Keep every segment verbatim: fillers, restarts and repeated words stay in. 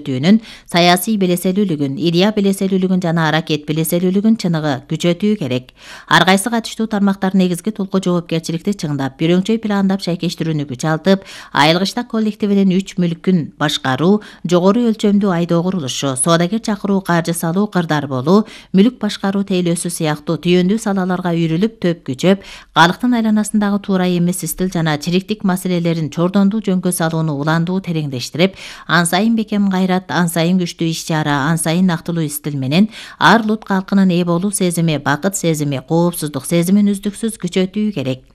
күчөтүүнүн, саясий белеселүүлүгүн, идея белеселүүлүгүн жана аракет белеселүүлүгүн чыныгы күчөтүү керек. Ар кайсы катыштуу тармактар негизги толку жоопкерчиликти чыңдап, бирөңчөй пландап шайкештирүүнү күч алып, айылгычтак коллективинин үч мүлкүн башкаруу, жогору өлчөмдүү айдоо курулушу, соодагер чакыруу, каржы салуу, кырдар болуу, мүлк башкаруу тейлөөсү сыяктуу түйүндүү салаларга үйрүлүп төп күчөп, калктын айланасындагы туура эмес стил жана чириктик маселелерин чордондуу жөнгө салууну уландуу тереңдештирип, ан сайын бекем кайрат, ан сайын күчтүү иш-чара, ан сайын нактылуу стил менен ар улут калкынын ээ болуу сезими, бакыт сезими, коопсуздук сезимин үздүксүз күчөтүү керек.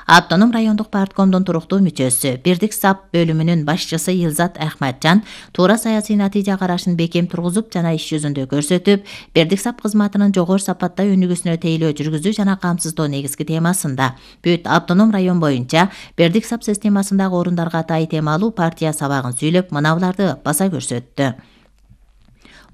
Автоном райондук парткомдун туруктуу мүчөсү, Бирдик САП бөлүмүнүн башчысы Илзат Ахматжан туура саясий натыйжа карашын бекем тургузуп жана иш жүзүндө көрсөтүп, Бирдик САП кызматынын жогору сапатта өнүгүүсүнө тейлөө жүргүзүү жана камсыздоо негизги темасында бүт автоном район боюнча Бирдик САП системасындагы орундарга тай темалуу партия сабагын сүйлөп, мынабуларды баса көрсөттү.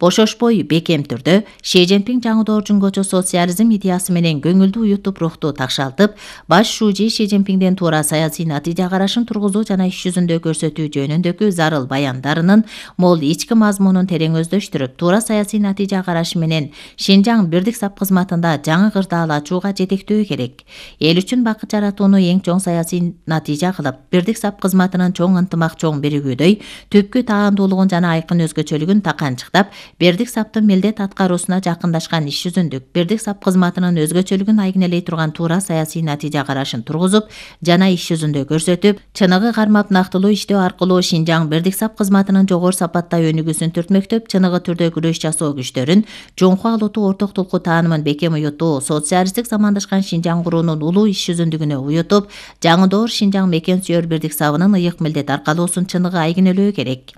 Бошошпой, бекем түрдө Ши Цзиньпин жаңы доор жөнгөчө социализм идеясы менен көңүлдүү уютуп рухту такшалтып, баш шужи Ши Цзиньпинден туура саясий натыйжа карашын тургузуу жана иш жүзүндө көрсөтүү жөнүндөгү зарыл баяндарынын мол ички мазмунун терең өздөштүрүп, туура саясий натыйжа карашы менен Шинжаң Бирдик САП кызматында жаңы кырдаал ачууга жетектөө керек. Эл үчүн бакыт жаратууну эң чоң саясий натыйжа кылып, Бирдик САП кызматынын чоң ынтымак, чоң биригүүдөй түпкү таандуулугун жана айкын өзгөчөлүгүн таканчыктап, Бирдик САПтын милдет аткаруусуна жакындашкан иш жүзүндүк, Бирдик САП кызматынын өзгөчөлүгүн айгинелей турган туура саясий натыйжа карашын тургузуп жана иш жүзүндө көрсөтүп, чыныгы кармап нактылуу иштөө аркылуу Шинжаң Бирдик САП кызматынын жогору сапатта өнүгүүсүн түртмөктөп, чыныгы түрдө күрөш жасоо күчтөрүн, жоңку алутуу орток толку таанымын бекем уютуу, социалисттик замандашкан Шинжаң куруунун улуу иш жүзүндүгүнө уютуп, жаңы доор Шинжаң мекен сүйөр Бирдик САПынын ыйык милдет аркалоосун чыныгы айгинелөө керек.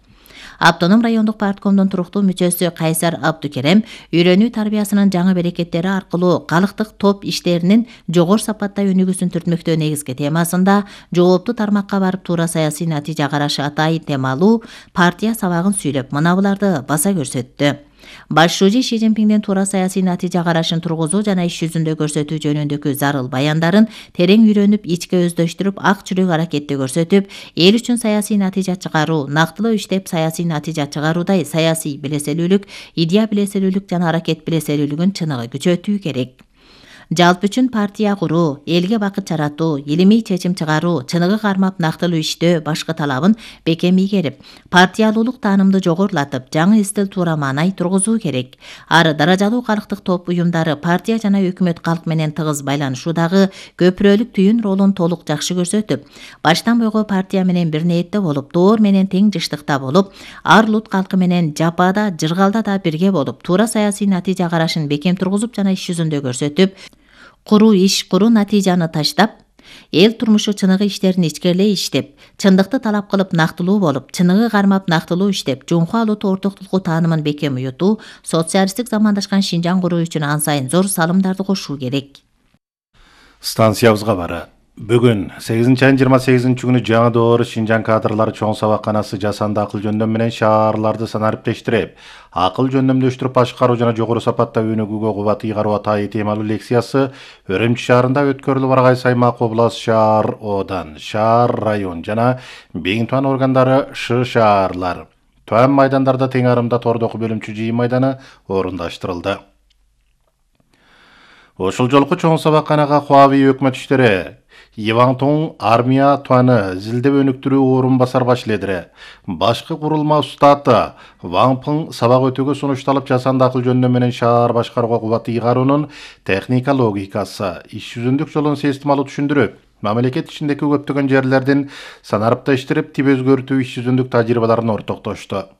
Автоном райондук парткомдун туруктуу мүчөсү Кайсар Абдукерем үйрөнүү тарбиясынын жаңы берекеттери аркылуу калктык топ иштеринин жогору сапатта өнүгүүсүн түртмөктөө негизги темасында жооптуу тармакка барып туура саясий натыйжа карашы атайын темалуу партия сабагын сүйлөп, мынабуларды баса көрсөттү. Баш шужи Ши Цзиньпинден туура саясий натыйжа карашын тургузуу жана иш жүзүндө көрсөтүү жөнүндөгү зарыл баяндарын терең үйрөнүп, ичке өздөштүрүп, ак жүрөк аракетти көрсөтүп, эл үчүн саясий натыйжа чыгаруу, нактылуу иштеп саясий натыйжа чыгаруудай саясий билеселүүлүк, идея билеселүүлүк жана аракет билеселүүлүгүн чыныгы күчөтүү керек. Жалпы үчүн партия куруу, элге бакыт жаратуу, илимий чечим чыгаруу, чыныгы кармап нактылуу иштөө башкы талабын бекем ийгерип, партиялуулук таанымды жогорулатып, жаңы стил туура маанай тургузуу керек. Ар даражалуу калктык топ уюмдары партия жана өкмөт калк менен тыгыз байланышуудагы көпүрөлүк түйүн ролун толук жакшы көрсөтүп, баштан бойго партия менен бир ниетте болуп, доор менен тең жыштыкта болуп, ар улут калкы менен жапада, жыргалда да бирге болуп, туура саясий натыйжа карашын бекем тургузуп жана иш жүзүндө көрсөтүп, куруу иш куруу натыйжаны таштап, эл турмушу чыныгы иштерин ичкерлей иштеп, чындыкты талап кылып нактылуу болуп, чыныгы кармап нактылуу иштеп, жоңку алутуу орток толку таанымын бекем уютуу, социалисттик замандашкан Шинжаң куруу үчүн ан сайын зор салымдарды кошуу керек. Станциябызга бары. Бүгүн сегизинчи айдын жыйырма сегизинчи күнү жаңы доор Шинжаң кадрлары чоң сабакканасы жасанды акыл жөндөм менен шаарларды санариптештирип, акыл жөндөмдөштүрүп башкаруу жана жогору сапатта өнүгүүгө кубат ыйгаруу атайын темалуу лекциясы Өрөмчү шаарында өткөрүлүп, ар кайсы аймак, област, шаар, одан, шаар, район жана бейин туан органдары, ш шаарлар, туан майдандарда тең арымда тордоку бөлүмчү жыйын майданы орундаштырылды. Ошол жолку чоң сабакканага Хуавей өкмөт иштери Ивантон армия туаны зилдеп өнүктүрүү орун басар башледире. Башкы курулма устаты Ваңпың сабак өтүүгө сунушталып, жасанды акыл жөндөм менен шаар башкарууга кубат ыйгаруунун техника логикасы, иш жүзүндүк жолун системалуу түшүндүрүп, мамлекет ичиндеги көптөгөн жерлердин санариптештирип, тип өзгөртүү иш жүзүндүк тажрыйбаларын ортоктошту.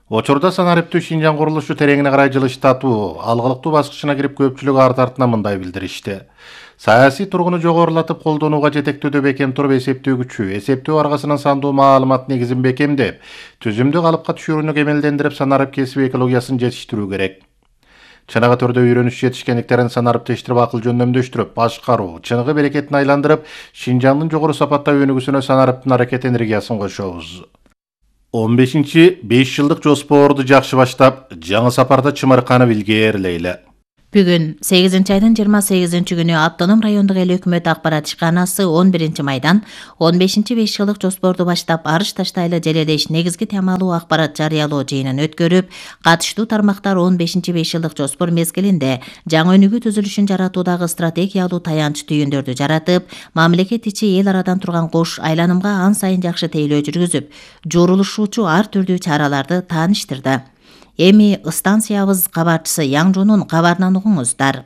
Учурда санариптөө Шинжаң курулушу тереңине карай жылыштатуу, алгылыктуу баскычына кирип, көпчүлүк ар тартына мындай билдиришти. Саясий тургуну жогорулатып, колдонууга жетектөөдө бекем туруп, эсептөө күчү, эсептөө аргасынан сандуу маалымат негизин бекемдеп, түзүмдүү калыпка түшүрүүнү кемелдендирип, санарип кесиби экологиясын жетиштирүү керек. Чыныгы түрдө үйрөнүш жетишкендиктерин санариптештирип, акыл жөндөмдөштүрүп, башкаруу, чыныгы берекетин айландырып, Шинжаңдын жогору сапатта өнүгүүсүнө санариптын аракет энергиясын кошобуз. он бешинчи беш жылдык жоспорду жакшы баштап, жаңы сапарда чымырканып илгээрлейли. Бүгүн сегизинчи айдын жыйырма сегизинчи күнү Автоном райондук эл өкмөт акпарат ишканасы он биринчи майдан он бешинчи беш жылдык жоспорду баштап арыш таштайлы желелеш негизги темалуу акпарат жарыялоо жыйынын өткөрүп, катыштуу тармактар он бешинчи беш жылдык жоспор мезгилинде жаңы өнүгүү түзүлүшүн жаратуудагы стратегиялуу таянч түйүндөрдү жаратып, мамлекет ичи эл арадан турган кош айланымга ан сайын жакшы тейлөө жүргүзүп, журулушуучу ар түрдүү чараларды тааныштырды. Эми станциябыз кабарчысы Яңжунун кабарынан угуңуздар.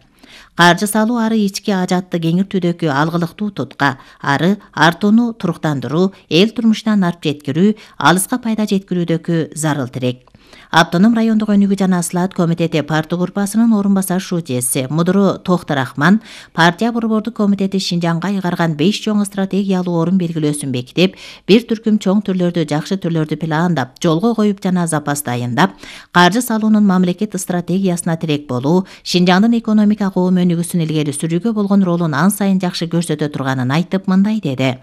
Каржы салуу ары ички ажатты кеңиртүүдөгү алгылыктуу тутка, ары артууну туруктандыруу, эл турмушунан арып жеткирүү, алыска пайда жеткирүүдөгү зарыл тирек. Автоном райондук өнүгүү жана слаат комитети партия группасынын орун басар шуудеси Мудуру Тохторахман партия борбордук комитети Шинжаңга айгарган беш чоң стратегиялуу орун белгилөөсүн бекитип, бир түркүм чоң түрлөрдү жакшы түрлөрдү пландап, жолго коюп жана запас дайындап, каржы салуунун мамлекет стратегиясына тирек болуу, Шинжаңдын экономика коом өнүгүүсүн илгери сүрүүгө болгон ролун ан сайын жакшы көрсөтө турганын айтып, мындай деди.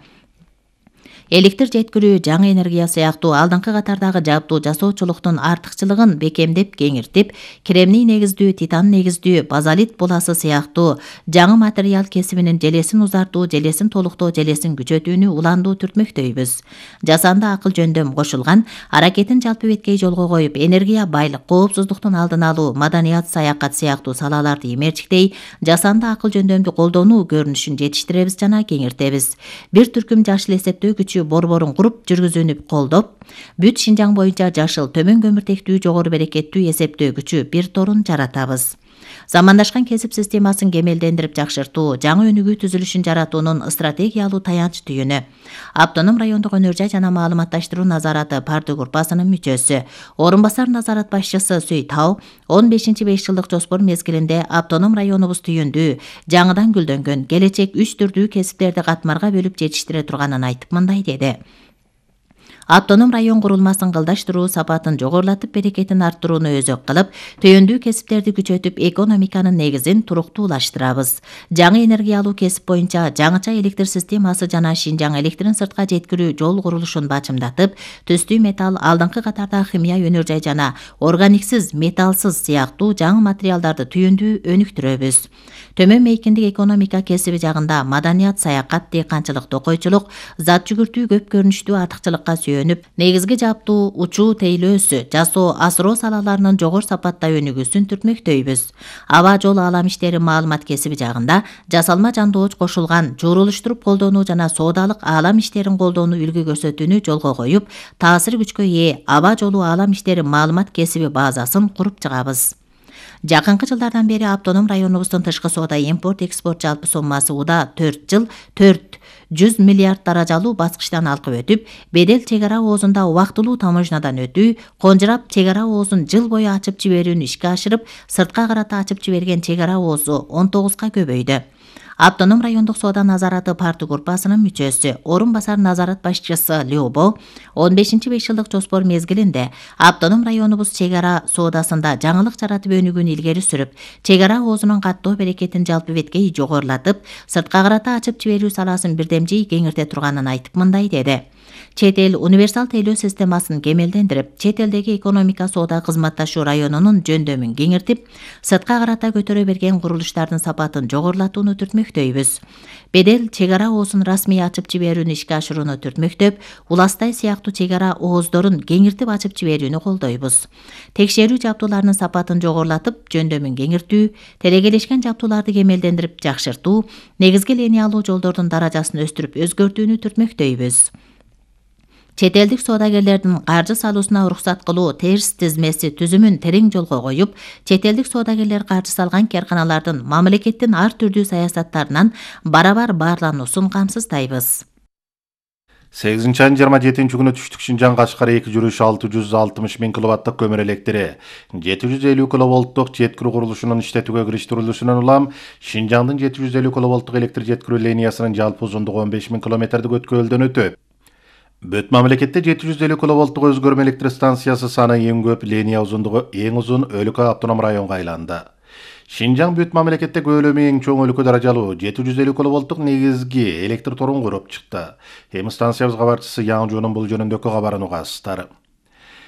Электр жеткирүү, жаңы энергия сыяктуу алдыңкы катардагы жабдуу жасоочулуктун артыкчылыгын бекемдеп кеңиртип, кремний негиздүү, титан негиздүү, базалит буласы сыяктуу жаңы материал кесибинин желесин узартуу, желесин толуктоо, желесин күчөтүүнү уландуу түртмөктөйбүз. Жасанды акыл жөндөм кошулган, аракетин жалпы беткей жолго коюп, энергия байлык, коопсуздуктун алдын алуу, маданият, саякат сыяктуу салаларды имерчиктей, жасанды акыл жөндөмдү колдонуу көрүнүшүн жетиштиребиз жана кеңиртебиз. Бир түркүм жашыл эсептөөгүч борборун куруп жүргүзүүнү колдоп, бүт Шинжаң боюнча жашыл, төмөн көмүртектүү, жогору берекеттүү эсептөөгүчү бир торун жаратабыз. Замандашкан кесип системасын кемелдендирип жакшыртуу, жаңы өнүгүү түзүлүшүн жаратуунун стратегиялуу таянч түйүнү. Автоном райондук өнөр жай жана маалыматташтыруу назараты партия группасынын мүчөсү, орун басар назарат башчысы Сүй Тау он бешинчи беш жылдык жоспор мезгилинде автоном районубуз түйүндүү, жаңыдан гүлдөнгөн, келечек үч түрдүү кесиптерди катмарга бөлүп жетиштире турганын айтып, мындай деди. Автоном район курулмасын кылдаштыруу, сапатын жогорулатып, берекетин арттырууну өзөк кылып, түйүндүү кесиптерди күчөтүп, экономиканын негизин туруктуулаштырабыз. Жаңы энергиялуу кесип боюнча жаңыча электр системасы жана Шинжаң электрин сыртка жеткирүү жол курулушун бачымдатып, түстүү металл, алдыңкы катарда химия өнөр жай жана органиксиз, металлсыз сыяктуу жаңы материалдарды түйүндүү өнүктүрөбүз. Төмөн мейкиндик экономика кесиби жагында маданият, саякат, дыйканчылык, токойчулук, зат жүгүртүү көп көрүнүштүү артыкчылыкка сүйөнүп, негизги жабдуу, учуу тейлөөсү, жасоо, асыроо салаларынын жогору сапатта өнүгүүсүн түртмөктөйбүз. Аба жолу алам иштери маалымат кесиби жагында жасалма жандооч кошулган, журулуштуруп колдонуу жана соодалык алам иштерин колдонуу үлгү көрсөтүүнү жолго коюп, таасир күчкө ээ аба жолу алам иштери маалымат кесиби базасын куруп чыгабыз. Жакынкы жылдардан бери автоном районубуздун тышкы соода импорт экспорт жалпы суммасы уда төрт жыл төрт жүз миллиард даражалуу баскычтан алкып өтүп, бедел чек ара оозунда убактылуу таможнядан өтүү, конжурап чек ара оозун жыл бою ачып жиберүүнү ишке ашырып, сыртка карата ачып жиберген чек ара оозу он тогузга көбөйдү. Автоном райондук соода назараты партия группасынын мүчөсү, орун басар назарат башчысы Лёбо он бешинчи беш жылдык жоспор мезгилинде автоном районубуз чек ара соодасында жаңылык жаратып өнүгүүнү илгери сүрүп, чек ара оозунун каттоо берекетин жалпы беткей жогорулатып, сыртка карата ачып жиберүү саласын бирдемжей кеңирте турганын айтып, мындай деди. Чет эл универсал тейлөө системасын кемелдендирип, чет элдеги экономика соода кызматташуу районунун жөндөмүн кеңиртип, сыртка карата көтөрө берген курулуштардын сапатын жогорулатууну түртмөктөйбүз. Бедел чек ара оозун расмий ачып жиберүүнү ишке ашырууну түртмөктөп, уластай сыяктуу чек ара ооздорун кеңиртип ачып жиберүүнү колдойбуз. Текшерүү жабдууларынын сапатын жогорулатып, жөндөмүн кеңиртүү, телекелешкен жабдууларды кемелдендирип жакшыртуу, негизги линиялуу жолдордун даражасын өстүрүп өзгөртүүнү түртмөктөйбүз. Чет элдик соодагерлердин каржы салуусуна уруксат кылуу терс тизмеси түзүмүн терең жолго коюп, чет элдик соодагерлер каржы салган карканалардын мамлекеттин ар түрдүү саясаттарынан барабар баарлануусун камсыздайбыз. сегизинчи айдын жыйырма жетинчи күнү түштүк Шинжаң Кашкар эки жүрүш алты жүз алтымыш миң киловаттык көмүр электри, жети жүз элүү киловолттук жеткирүү курулушунун иштетүүгө кириштирилүүсүнөн улам Шинжаңдын жети жүз элүү киловолттук электр жеткирүү линиясынын жалпы узундугу он беш миң километрдик өткөлдөн өтөт. Бүт мамлекетте жети жүз элүү киловолттук өзгөрмө электр станциясы саны эң көп, линия узундугу эң узун өлкө автоном районго айланды. Шинжаң бүт мамлекетте көлөмү эң чоң өлкө даражалуу жети жүз элүү киловолттук негизги электр торун куруп чыкты. Эми станциябыз кабарчысы Яңжунун бул жөнүндөгү кабарын угасыздар.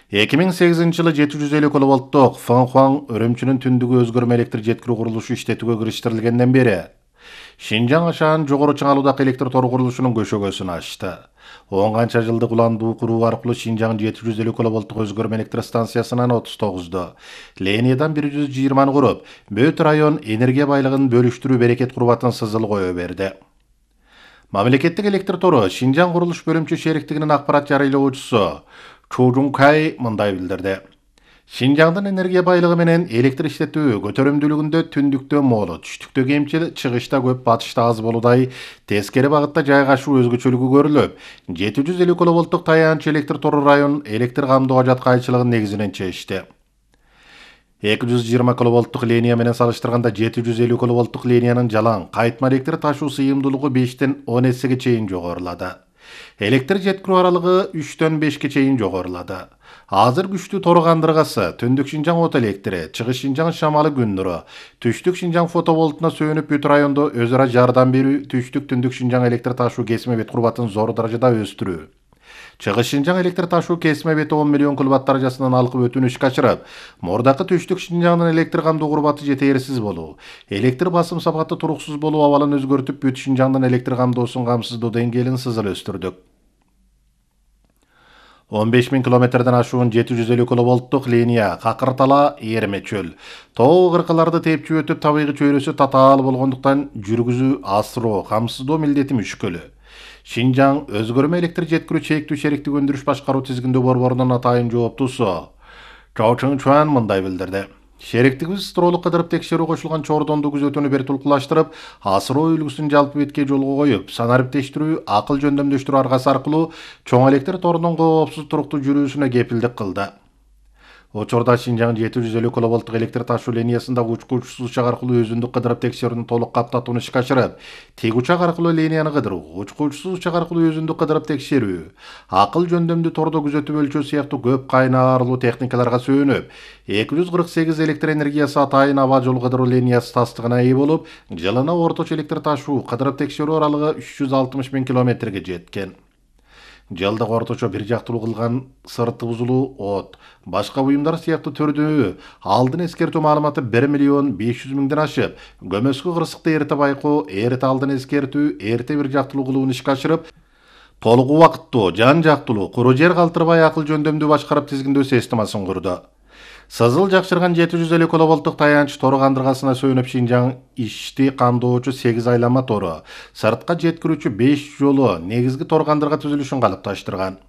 эки миң сегизинчи жылы жети жүз элүү киловольттук Фэнхуан Өрөмчүнүн түндүгү өзгөрмө электр жеткирүү курулушу иштетүүгө кириштерилгенден бери Шинжаң Ашаан жогору чыңалуудагы электр тору курулушунун көшөгөсүн ачты. он канча жылдык уландуу куруу аркылуу Шинжаң жети жүз элүү киловольттук өзгөрмө электр станциясынан отуз тогузду, Линиядан бир жүз жыйырманы куруп, Бөт район энергия байлыгын бөлүштүрүү берекет курбатын сызыл кое берди. Мамлекеттик электр тору Шинжаң курулуш бөлүмчө шериктигинин акпарат жарыялоочусу Чу Жункай мындай билдирди. Шинжаңдын энергия байлыгы менен электр иштетүү көтөрүмдүүлүгүндө түндүктө молу, түштүктө кемчил, чыгышта көп, батышта аз болуудай тескери багытта жайгашуу өзгөчөлүгү көрүлүп, жети жүз элүү киловольттук таянч электр тору район электр камдоо жаткайчылыгын негизинен чечти. эки жүз жыйырма киловольттук линия менен салыштырганда жети жүз элүү киловольттук линиянын жалаң кайтма электр ташуу сыйымдуулугу бештен он эсеге чейин жогорулады. Электр жеткирүү аралыгы үчтөн бешке чейин жогорулады. Азыр күчтүү тору кандыргасы, түндүк Шинжаң от электри, чыгыш Шинжаң шамалы күн нуру, түштүк Шинжаң фотоволтуна сөнүп бүт райондо өз ара жардам берүү, түштүк түндүк Шинжаң электр ташуу кесме бет курбатын зор даражада өстүрүү. Чыгыш Шинжаң электр ташуу кесме бети он миллион киловатт даражасынан алкып өтүүнү ишке ашырып, мурдакы түштүк Шинжаңдын электр камдоо курбаты жетээрсиз болуу, электр басым сапаты туруксуз болуу абалын өзгөртүп, бүт Шинжаңдын электр камдоосун камсыздоо деңгээлин сызыл өстүрдүк. он беш миң километрден ашуун жети жүз элүү киловольттук линия какыртала эрме чөл. Тоо кыркаларды тепчү өтүп, табигый чөйрөсү татаал болгондуктан жүргүзүү, асыроо, камсыздоо милдети мүшкүл. Шинжаң өзгөрмө электр жеткирүү чектүү шериктик өндүрүш башкаруу тизигиндө борборунун атайын жооптуусу Чао Чың Чуан мындай билдирди. Шериктигибиз стролук кыдырып текшерүү кошулган чордонду күзөтүүнү бир тулкулаштырып, асыроо үлгүсүн жалпы бетке жолго коюп, санариптештирүү, акыл жөндөмдөштүрүү аргасы аркылуу чоң электр торунун коопсуз туруктуу жүрүүсүнө кепилдик кылды. Учурда Шинжаң жети жүз элүү киловольттук электр ташуу линиясындагы учку учсуз учак аркылуу өзүндүк кыдырып текшерүүнү толук каптатууну ишке ашырып, тик учак аркылуу линияны кыдыруу, учку учсуз учак аркылуу өзүндүк кыдырып текшерүү, акыл жөндөмдүү тордо күзөтүп өлчөө сыяктуу көп кайнарлуу техникаларга сүйөнүп, эки жүз кырк сегиз электр энергиясы атайын аба жол кыдыруу линиясы тастыгына ээ болуп, жылына орточо электр ташуу, кыдырып текшерүү аралыгы үч жүз алтымыш миң километрге жеткен. Жылдык орточо бир жактылуу кылган сырты бузулуу от, башка буюмдар сыяктуу түрдүү алдын эскертүү маалыматы бир миллион беш жүз миңден ашып, көмөскө кырсыкты эрте байкоо, эрте алдын эскертүү, эрте бир жактылуу кылууну ишке ашырып, толук убакыттуу, жан жактылуу, куру жер калтырбай акыл жөндөмдүү башкарып тизгиндөө системасын курду. Сызыл жакшырган жети жүз элүү киловольттук таянч тору кандыргасына сөнүп Шинжаң ишти камдоочу сегиз айланма тору, сыртка жеткирүүчү беш жолу негизги тор кандырга түзүлүшүн калыпташтырган.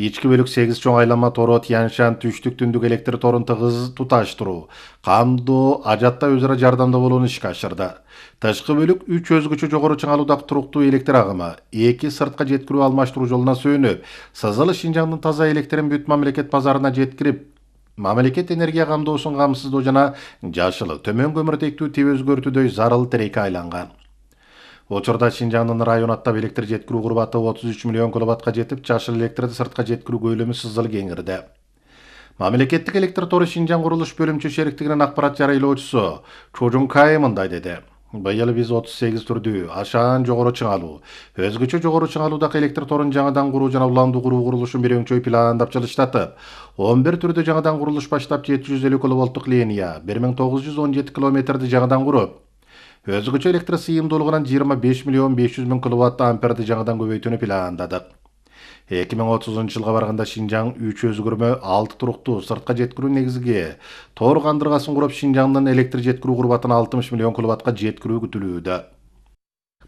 Ички бөлүк сегиз чоң айланма тору Тяньшан түштүк түндүк электр торун тыгыз туташтыруу, камдоо, ажатта өз ара жардамда болууну ишке ашырды. Тышкы бөлүк үч өзгөчө жогору чыңалуудагы туруктуу электр агымы, эки сыртка жеткирүү алмаштыруу жолуна сөнүп, сызыл Шинжаңдын таза электрин бүт мамлекет базарына жеткирип, мамлекет энергия камдоосун камсыздоо жана жашыл, төмөн көмүртектүү тип өзгөртүүдөй зарыл тиреке айланган. Учурда Шинжаңдын район аттап электр жеткирүү курбаты отуз үч миллион киловаттка жетип, жашыл электрди сыртка жеткирүү көлөмү сызыл кеңирди. Мамлекеттик электр тору Шинжаң курулуш бөлүмчө шериктигинин акпарат жарыялоочусу Чу Жункай мындай деди. Быйыл биз отуз сегиз түрдүү Ашаан жогору чыңалуу, өзгөчө жогору чыңалуудагы электр торун жаңадан куруу жана уландуу куруу курулушун бир өңчөй пландап жылыштатып, он бир түрдө жаңадан курулуш баштап жети жүз элүү киловольттук линия, бир миң тогуз жүз он жети километрди жаңадан куруп, өзгөчө электр сыйымдуулугунан жыйырма беш миллион беш жүз миң киловатт амперди жаңадан көбөйтүүнү пландадык. эки миң отузунчу жылга барганда Шинжаң үч өзгөрмө, алты туруктуу сыртка жеткирүү негизги тор кандыргасын куруп, Шинжаңдын электр жеткирүү курбатын алтымыш миллион киловаттка жеткирүү күтүлүүдө.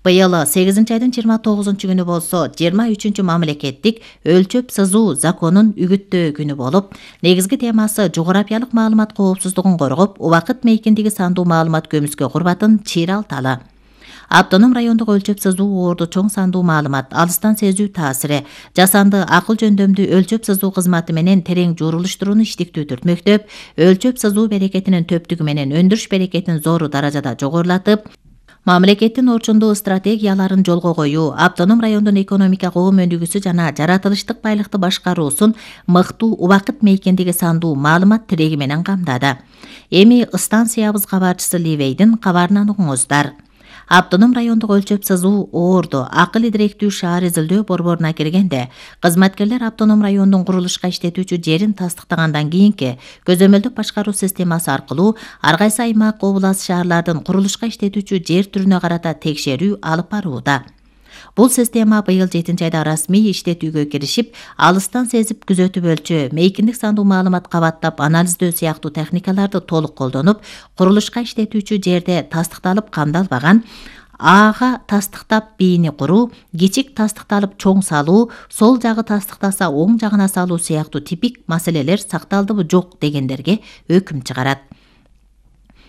Быйыл сегизинчи айдын жыйырма тогузунчу күнү болсо жыйырма үчүнчү мамлекеттик өлчөп сызуу законун үгүттөө күнү болуп, негизги темасы жогорапиялык маалымат коопсуздугун коргоп, убакыт мейкиндиги сандуу маалымат көмүскө курбатын чыйралталы. Автоном райондук өлчөп сызуу орду чоң сандуу маалымат, алыстан сезүү таасири, жасанды акыл жөндөмдүү өлчөп сызуу кызматы менен терең журулуштурууну иштиктүү түртмөктөп, өлчөп сызуу берекетинин төптүгү менен өндүрүш берекетин зор даражада жогорулатып, мамлекеттин орчундуу стратегияларын жолго коюу, автоном райондун экономика коом өнүгүүсү жана жаратылыштык байлыкты башкаруусун мыктуу убакыт мейкиндиги сандуу маалымат тиреги менен камдады. Эми станциябыз кабарчысы Ливейдин кабарынан угуңуздар. Автоном райондук өлчөп сызуу Оордо акыл идиректүү шаар изилдөө борборуна киргенде, кызматкерлер автоном райондун курулушка иштетүүчү жерин тастыктагандан кийинки көзөмөлдүк башкаруу системасы аркылуу ар кайсы аймак, област, шаарлардын курулушка иштетүүчү жер түрүнө карата текшерүү алып барууда. Бул система быйыл жетинчи айда расмий иштетүүгө киришип, алыстан сезип күзөтүп өлчөө, мейкиндик сандуу маалымат кабаттап анализдөө сыяктуу техникаларды толук колдонуп, курулушка иштетүүчү жерде тастыкталып камдалбаган Ага тастыктап бийини куруу, кичик тастыкталып чоң салуу, сол жагы тастыктаса оң жагына салуу сыяктуу типик маселелер сакталдыбы жок дегендерге өкүм чыгарат.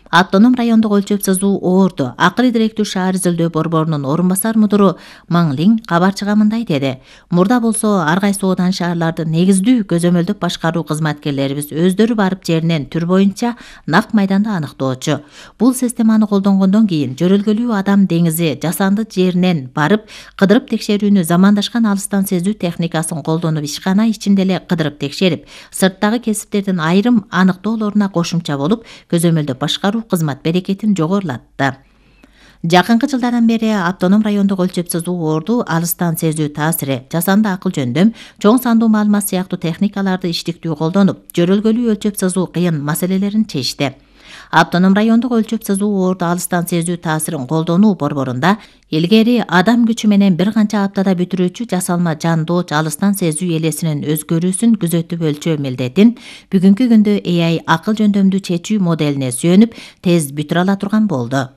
Автоном райондук өлчөп сызуу Оордо акыл идиректүү шаар изилдөө борборунун орун басар мудуру Маңлин кабарчыга мындай деди. Мурда болсо ар кайсы оодан шаарларды негиздүү көзөмөлдүк башкаруу кызматкерлерибиз өздөрү барып жеринен түр боюнча нак майданда аныктоочу. Бул системаны колдонгондон кийин жөрөлгөлүү адам деңизи жасанды жеринен барып кыдырып текшерүүнү замандашкан алыстан сезүү техникасын колдонуп ишкана ичинде эле кыдырып текшерип, сырттагы кесиптердин айрым аныктоолоруна кошумча болуп көзөмөлдүк башкаруу кызмат берекетин жогорулатты. Жакынкы жылдардан бери автоном райондук өлчөп сызуу Оордо алыстан сезүү таасири, жасанды акыл жөндөм, чоң сандуу маалымат сыяктуу техникаларды иштиктүү колдонуп, жөрөлгөлүү өлчөп сызуу кыйын маселелерин чечти. Автоном райондук өлчөп сызуу Оордо алыстан сезүү таасирин колдонуу борборунда илгери адам күчү менен бир канча аптада бүтүрүүчү жасалма жандооч алыстан сезүү элесинин өзгөрүүсүн күзөтүп өлчөө милдетин бүгүнкү күндө A I акыл жөндөмдүү чечүү моделине сүйөнүп тез бүтүрө ала турган болду.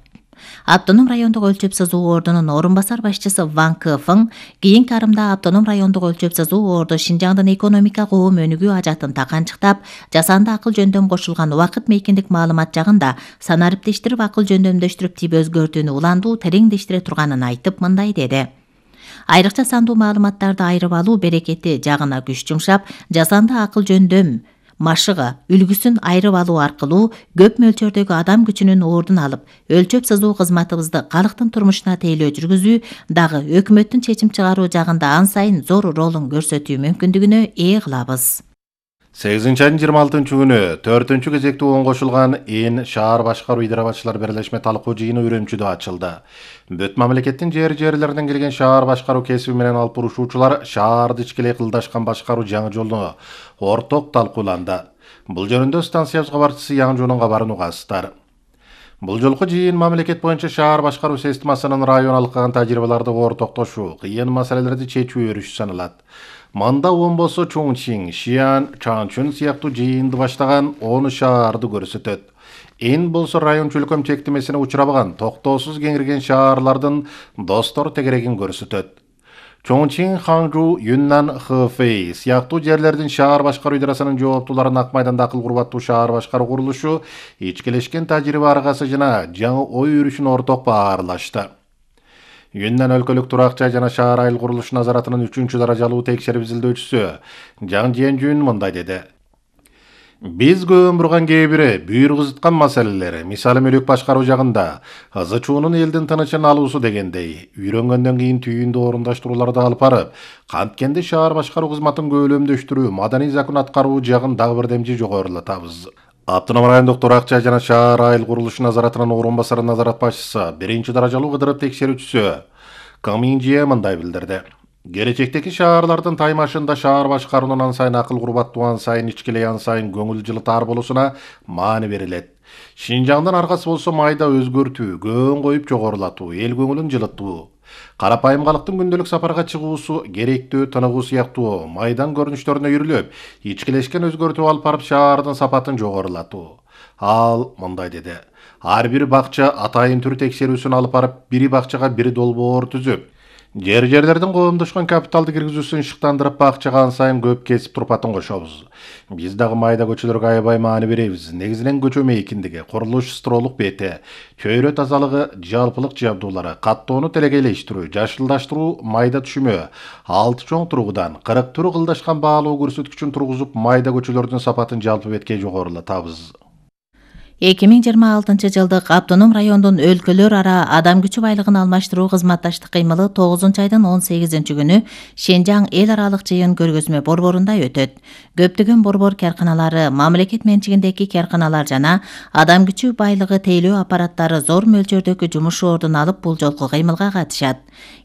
Автоном райондук өлчөп сызуу Оордонун орун басар башчысы Ван Кефың кийинки арымда автоном райондук өлчөп сызуу Оордо Шинжаңдын экономика коом өнүгүү ажатын таканчыктап, жасанды акыл жөндөм кошулган убакыт мейкиндик маалымат жагында санариптештирип акыл жөндөмдөштүрүп тип өзгөртүүнү уландуу тереңдештире турганын айтып мындай деди. Айрыкча сандуу маалыматтарды айырып алуу берекети жагына күч жумшап, жасанды акыл жөндөм машыгы үлгүсүн айырып алуу аркылуу көп мөлчөрдөгү адам күчүнүн ордун алып, өлчөп сызуу кызматыбызды калктын турмушуна тейлөө жүргүзүү дагы өкмөттүн чечим чыгаруу жагында ан сайын зор ролун көрсөтүү мүмкүндүгүнө ээ кылабыз. сегизинчи айдын жыйырма алтынчы күнү төртүнчү кезекте оң кошулган эн шаар башкаруу идара-башчылар бирлешме талкуу жыйыны Үрөмчүдө ачылды. Бүт мамлекеттин жер жерлеринен келген шаар башкаруу кесиби менен алып бурушуучулар шаарды ичкилей кылдашкан башкаруу жаңы жолуну орток талкууланды. Бул жөнүндө станциябыз кабарчысы Яңжуунун кабарын угасыздар. Бул жолку жыйын мамлекет боюнча шаар башкаруу системасынын район алкаган тажрыйбаларды ортоктошуу, кыйын маселелерди чечүү өрүшү саналат. Манда Омбосо, Чоңчиң, Шиан, Чаңчун сыяктуу жыйынды баштаган он шаарды көрсөтөт. Эн болсо район чөлкөм чектемесине учурабаган, токтоосуз кеңирген шаарлардын достор тегерегин көрсөтөт. Чоңчиң, Ханчжу, Юннан, Хэфэй сыяктуу жерлердин шаар башкаруу идарасынын жооптуулары Ак майданда акыл курбаттуу шаар башкаруу курулушу ичкилешкен тажрыйба аргасы жана жаңы ой өрүшүн орток баарлашты. Юннан өлкөлүк турак жай жана шаар айыл курулуш назаратынын үчүнчү даражалуу текшерип изилдөөчүсү Жаң Жиенжүн мындай деди. Биз көөн бурган кээ бири бүйүр кызыткан маселелери, мисалы мүлүк башкаруу жагында ызы чуунун элдин тынычын алуусу дегендей, үйрөнгөндөн кийин түйүндү орундаштырууларды алып барып, канткенде шаар башкаруу кызматын көөлөмдөштүрүү, маданий закон аткаруу жагын дагы бир демчи жогорулатабыз. Автоном райондук турак жай жана шаар айыл курулуш назаратынын орун басары назарат башчысы, биринчи даражалуу кыдырып текшерүүчүсү Каминжие мындай билдирди. Келечектеги шаарлардын таймашында шаар башкаруунун ан сайын акыл курбаттуу, ан сайын ичкилей, ан сайын көңүл жылытаар болуусуна маани берилет. Шинжаңдын аркасы болсо майда өзгөртүү, көөн коюп жогорулатуу, эл көңүлүн жылытуу. Карапайым калктын күндөлүк сапарга чыгуусу, керектүү, тыныгуу сыяктуу майдан көрүнүштөрүнө үйрүлүп, ичкилешкен өзгөртүү алып барып шаардын сапатын жогорулатуу. Ал мындай деди. Ар бир бакча атайын түр текшерүүсүн алып барып, бири бакчага бири долбоор түзүп, жер жерлердин коомдошкон капиталды киргизүүсүн шыктандырып, бакчага ан сайын көп кесип турпатын кошобуз. Биз дагы майда көчөлөргө аябай маани беребиз. Негизинен көчө мейкиндиги, курулуш строолук бети, чөйрө тазалыгы, жалпылык жабдуулары, каттоону телегейлештирүү, жашылдаштыруу, майда түшүмө, алты чоң тургудан кырк түрү кылдашкан баалоо көрсөткүчүн тургузуп, майда көчөлөрдүн сапатын жалпы бетке жогорулатабыз. эки миң жыйырма алтынчы жылдык автоном райондун өлкөлөр ара адам күчү байлыгын алмаштыруу кызматташтык кыймылы тогузунчу айдын он сегизинчи күнү Шенжаң эл аралык жыйын көргөзмө борборунда өтөт. Көптөгөн борбор карканалары, мамлекет менчигиндеги карканалар жана адам күчү байлыгы тейлөө аппараттары зор мөлчөрдөгү жумуш ордун алып бул жолку кыймылга катышат.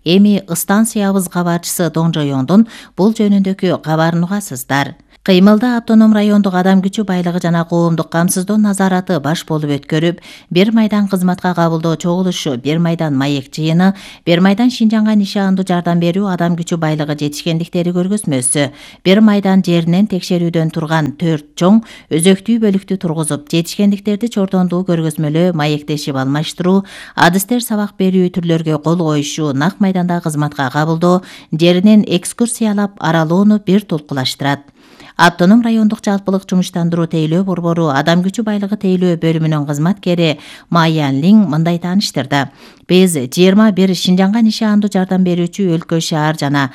Эми станциябыз кабарчысы Доңжоёңдун бул жөнүндөгү кабарын угасыздар. Кыймылда автоном райондук адам күчү байлыгы жана коомдук камсыздоо назараты баш болуп өткөрүп, бир майдан кызматка кабылдоо чогулушу, бир майдан маек жыйыны, бир майдан Шинжаңга нишандуу жардам берүү адам күчү байлыгы жетишкендиктери көргөзмөсү, бир майдан жеринен текшерүүдөн турган төрт чоң өзөктүү бөлүктү тургузуп, жетишкендиктерди чордондуу көргөзмөлөө маектешип алмаштыруу, адыстер сабак берүү түрлөргө кол коюшу, нак майданда кызматка кабылдоо, жеринен экскурсиялап аралоону бир толкулаштырат. Автоном райондук жалпылык жумуштандыруу тейлөө борбору адам күчү байлыгы тейлөө бөлүмүнүн кызматкери Маян Лиң мындай тааныштырды. Биз жыйырма бир Шинжаңга нишандуу жардам берүүчү өлкө шаар жана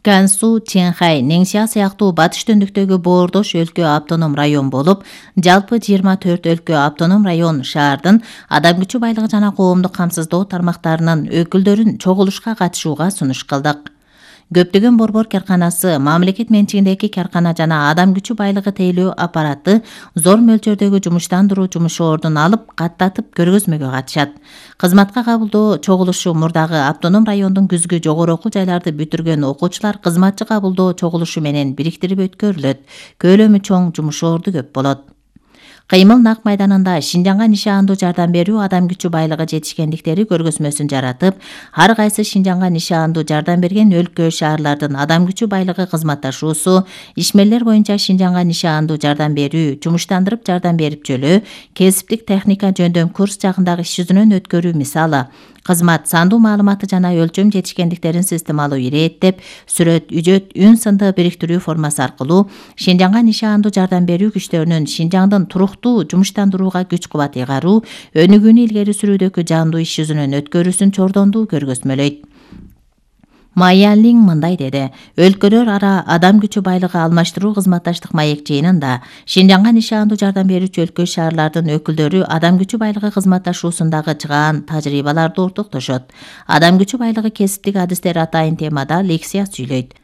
Гансу, Чэнхай, Нэнсиа сыяктуу батыш төндүктөгү боордош өлкө автоном район болуп, жалпы жыйырма төрт өлкө автоном район шаардын адам күчү байлыгы жана коомдук камсыздоо тармактарынын өкүлдөрүн чогулушка катышууга сунуш кылдык. Көптөгөн борбор карканасы, мамлекет менчигиндеги каркана жана адам күчү байлыгы тейлөө аппараты зор мөлчөрдөгү жумуштандыруу жумуш ордун алып, каттатып көргөзмөгө катышат. Кызматка кабылдоо чогулушу мурдагы автоном райондун күзгү жогору окуу жайларды бүтүргөн окуучулар кызматчы кабылдоо чогулушу менен бириктирип өткөрүлөт. Көлөмү чоң жумуш орду көп болот. Кыймыл нак майданында Шинжаңга нишандуу жардам берүү адам күчү байлыгы жетишкендиктери көргөзмөсүн жаратып, ар кайсы Шинжаңга нишандуу жардам берген өлкө шаарлардын адам күчү байлыгы кызматташуусу, ишмерлер боюнча Шинжаңга нишандуу жардам берүү, жумуштандырып жардам берип жөлөө, кесиптик техника жөндөм курс жагындагы иш жүзүнөн өткөрүү мисалы, кызмат сандуу маалыматы жана өлчөм жетишкендиктерин системалуу ирээттеп, сүрөт, үжөт, үн сынды бириктирүү формасы аркылуу Шинжаңга нишандуу жардам берүү күчтөрүнүн Шинжаңдын туруктуу жумуштандырууга күч кубат ыйгаруу, өнүгүүнү илгери сүрүүдөгү жандуу иш жүзүнөн өткөрүүсүн чордондуу көргөзмөлөйт. Маян Лиң мындай деди. Өлкөлөр ара адам күчү байлыгы алмаштыруу кызматташтык маек жыйынында Шинжаңга нишандуу жардам берүүчү өлкө шаарлардын өкүлдөрү адам күчү байлыгы кызматташуусундагы чыгаан тажрыйбаларды ортоктошот. Адам күчү байлыгы кесиптик адистер атайын темада лекция сүйлөйт.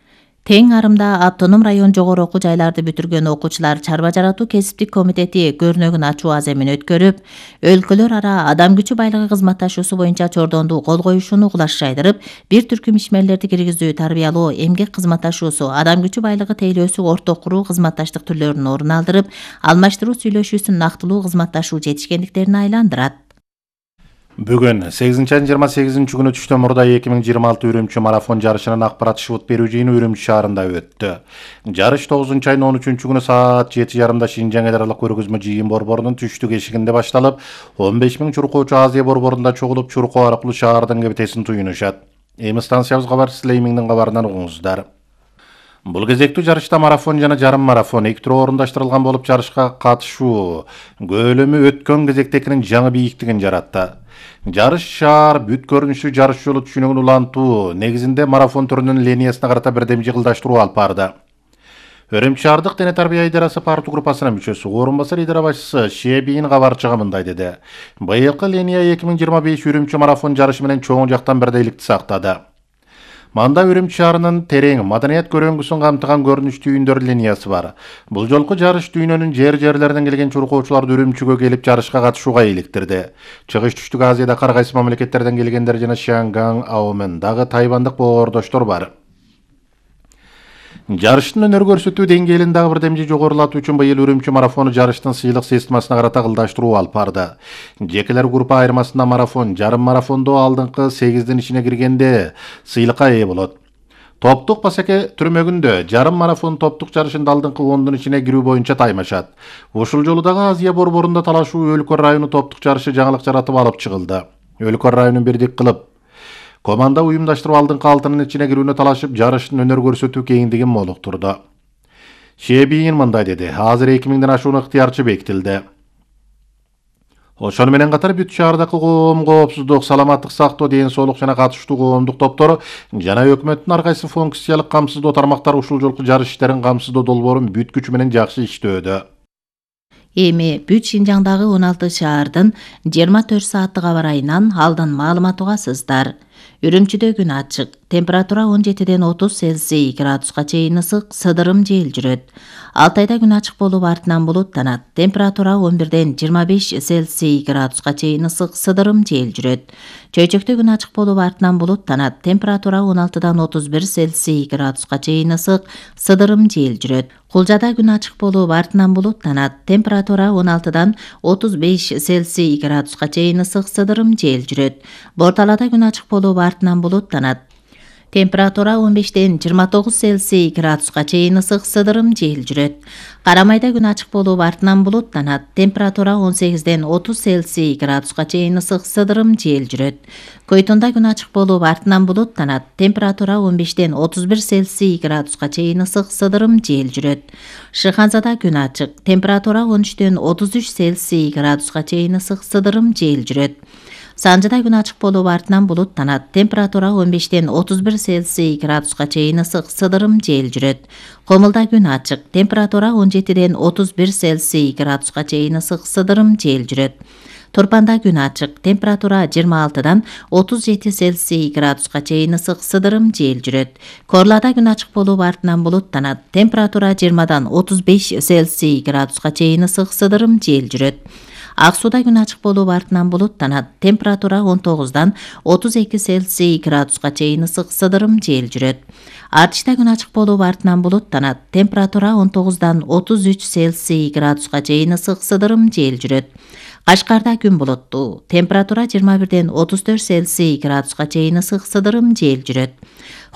Тең арымда автоном район жогору окуу жайларды бүтүргөн окуучулар чарба жаратуу кесиптик комитети көрнөгүн ачуу аземин өткөрүп, өлкөлөр ара адам күчү байлыгы кызматташуусу боюнча чордондуу кол коюшууну кулаш жайдырып, бир түркүм ишмерлерди киргизүү, тарбиялоо, эмгек кызматташуусу, адам күчү байлыгы тейлөөсү орток куруу кызматташтык түрлөрүн орун алдырып, алмаштыруу сүйлөшүүсүн нактылуу кызматташуу жетишкендиктерине айландырат. Бүгүн сегизинчи айдын жыйырма сегизинчи күнү түштөн мурда эки миң жыйырма алты Үрүмчү марафон жарышынын акпарат шыбыт берүү жыйыны Үрүмчү шаарында өттү. Жарыш тогузунчу айдын он үчүнчү күнү саат жети жарымда Шинжаң эл аралык көргөзмө жыйын борборунун түштүк эшигинде башталып, он беш миң чуркоочу Азия борборунда чогулуп, чуркоо аркылуу шаардын кебетесин туюнушат. Эми станциябыз кабарчысы Леймиңдин кабарынан угуңуздар. Бул кезектүү жарышта марафон жана жарым марафон эки тур орундаштырылган болуп, жарышка катышуу көлөмү өткөн кезектекинин жаңы бийиктигин жаратты. Жарыш шаар бүт көрүнүштүү жарыш жолу түшүнүгүн улантуу негизинде марафон түрүнүн линиясына карата бирдем жыгылдаштыруу алып барды. Үрүмчү шаардык дене тарбия идарасы парту группасынын мүчөсү, орун басар идара башчысы Шебийин кабарчыга мындай деди. Быйылкы линия эки миң жыйырма беш Үрүмчү марафон жарышы менен чоң жактан бирдейликти сактады. Манда Үрүмчү шаарынын терең маданият көрөңгүсүн камтыган көрүнүштүү үйүндөр линиясы бар. Бул жолку жарыш дүйнөнүн жер-жерлеринен келген чуркоочуларды Үрүмчүгө келип жарышка катышууга иликтирди. Чыгыш түштүк Азияда ар кайсы мамлекеттерден келгендер жана Шанган, Аомен дагы тайвандык боордоштор бар. Жарыштын өнөр көрсөтүү деңгээлин дагы бирдемже жогорулатуу үчүн быйыл Үрүмчү марафону жарыштын сыйлык системасына карата кылдаштыруу алып барды. Жекелер группа айырмасында марафон, жарым марафондо алдыңкы сегиздин ичине киргенде сыйлыкка ээ болот. Топтук басеке түрмөгүндө жарым марафон топтук жарышында алдыңкы ондун ичине кирүү боюнча таймашат. Ушул жолу дагы Азия борборунда талашуу өлкө району топтук жарышы жаңылык жаратып алып чыгылды. Өлкө районун бирдик кылып команда уюмдаштырып алдыңкы алтынын ичине кирүүнү талашып, жарыштын өнөр көрсөтүү кеңдигин молуктурду. Шебийин мындай деди. Азыр эки миңден ашуун ыктыярчы бекитилди. Ошону менен катар бүт шаардагы коом, коопсуздук, саламаттык сактоо, ден соолук жана катыштуу коомдук топтор жана өкмөттүн ар кайсы функциялык камсыздоо тармактары ушул жолку жарыш иштерин камсыздоо долбоорун бүт күчү менен жакшы иштөөдө. Эми бүт Шинжаңдагы он алты шаардын жыйырма төрт сааттык аба ырайынан алдын маалымат угасыздар. Үрүмчүдө күн ачык. Температура он жетиден отуз Цельсий градуска чейин ысык, сыдырым жел жүрөт. Алтайда күн ачык болуп артынан булуттанат. Температура он бирден жыйырма беш Цельсий градуска чейин ысык, сыдырым жел жүрөт. Чөйчөктө күн ачык болуп артынан булуттанат. Температура он алтыдан отуз бир Цельсий градуска чейин ысык, сыдырым жел жүрөт. Кулжада күн ачык болуп артынан булуттанат. Температура он алтыдан отуз беш Цельсий градуска чейин ысык, сыдырым жел жүрөт. Борталада күн ачык болуп артынан булуттанат. Температура он бештен жыйырма тогуз Цельсий градуска чейин ысык, сыдырым жел жүрөт. Карамайда күн ачык болуп артынан булуттанат. Температура он сегизден отуз Цельсий градуска чейин ысык, сыдырым жел жүрөт. Койтонда күн ачык болуп артынан булуттанат. Температура он бештен отуз бир Цельсий градуска чейин ысык, сыдырым жел жүрөт. Шыханзада күн ачык. Температура он үчтөн отуз үч Цельсий градуска чейин ысык, сыдырым жел жүрөт. Санжыда күн ачык болуп артынан булуттанат. Температура он бештен отуз бир Цельсий градуска чейин ысык, сыдырым жел жүрөт. Комулда күн ачык. Температура он жетиден отуз бир Цельсий градуска чейин ысык, сыдырым жел жүрөт. Турпанда күн ачык. Температура жыйырма алтыдан отуз жети Цельсий градуска чейин ысык, сыдырым жел жүрөт. Корлада күн ачык болуп артынан булуттанат. Температура жыйырмадан отуз беш Цельсий градуска чейин ысык, сыдырым жел жүрөт. Ак сууда күн ачык болуп артынан булуттанат. Температура он тогуздан отуз эки Цельсий градуска чейин ысык, сыдырым жел жүрөт. Артышта күн ачык болуп артынан булуттанат. Температура он тогуздан отуз үч Цельсий градуска чейин ысык, сыдырым жел жүрөт. Кашкарда күн булуттуу. Температура жыйырма бирден отуз төрт Цельсий градуска чейин ысык, сыдырым жел жүрөт.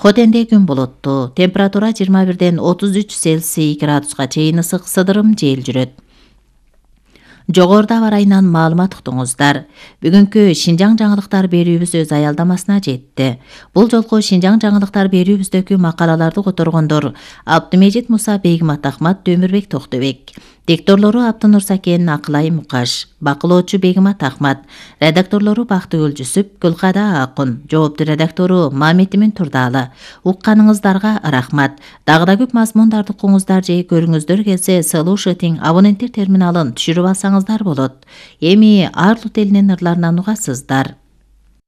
Хотенде күн булуттуу. Температура жыйырма бирден отуз үч Цельсий градуска чейин ысык, сыдырым жел жүрөт. Жогоруда аба ырайынан маалымат уктуңуздар. Бүгүнкү Шинжаң жаңылыктар берүүбүз өз аялдамасына жетти. Бул жолку Шинжаң жаңылыктар берүүбүздөгү макалаларды которгондор Абдымежит Муса, Бегимат Ахмат, Дөмүрбек Токтобек. Дикторлору Абдынур Сакен, Акылай Мукаш. Бакылоочу Бегимат Ахмат. Редакторлору Бактыгүл Жүсүп, Гүлкада Акын. Жоопту редактору Мамедимин Турдалы. Укканыңыздарга рахмат. Дагы да көп мазмундарды угуңуздар же көрүңүздөр келсе, Слушатиң абоненттер терминалын түшүрүп алсаңыздар болот. Эми Арлут элинин ырларынан угасыздар.